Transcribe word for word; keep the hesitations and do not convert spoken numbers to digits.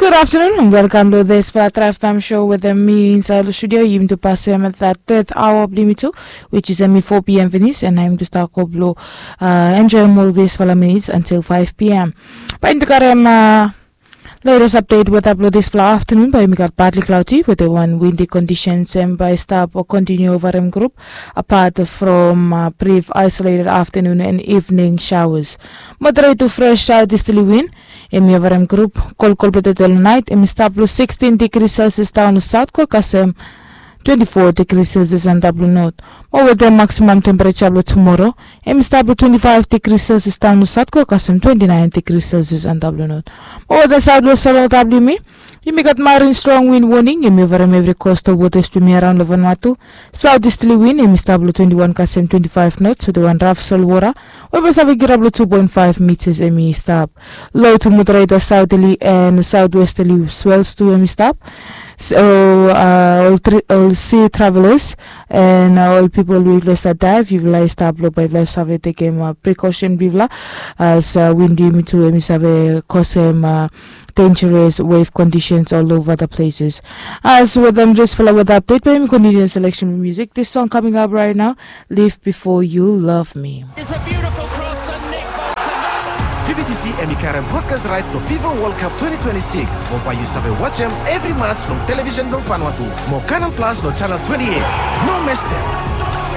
Good afternoon and welcome to this for Drive Time Show with me inside the studio. Yumi tu pasem that third hour of Limitu, which is emi four p.m. finish, and I'm just talk blo uh, enjoy more this for minutes until five p.m. Bae yumi tu karem uh, latest update weather blo this for afternoon. Bae yumi gat partly cloudy with the one windy conditions and bae stap or continue over em group apart from uh, brief isolated afternoon and evening showers. Moderate to fresh southeasterly wind. Emi over em group, kolkol blo tete long nait emi stap long sixteen degrees Celsius daon long saut go kasem twenty-four degrees Celsius antap long not. Mo wetem maximum temperature blo tumoro emi stap long twenty-five degrees Celsius daon long saut go kasem twenty-nine degrees Celsius antap long not. Mo wetem saut west long W yumi gat marine strong wind warning emi over em evri coastal waters blo yumi araon long Vanuatu. Southeasterly wind emi stap long twenty-one kasem twenty-five knots wetem wan raf solwota we bae save kirap long two point five meters emi stap. Low to moderate southerly and southwesterly swells tu emi stap. So uh, all, three, all sea travelers and uh, all people we yufala stap dive, yufala stap long bae yufala save tekem uh, precaution blo yufala as uh, wind yumi tu emi save kosem uh, dangerous wave conditions all over the places. As with them just follow with update, bae yumi continue selection music. This song coming up right now, Live Before You Love Me. It's a beautiful cross and Nick Bolton. Fi bi disi emi karem broadcast right blo FIFA World Cup twenty twenty-six. Mo bae yu save wajem evri match long television blong Vanuatu. Mo Canal Plus long channel twenty-eight. No mes dem.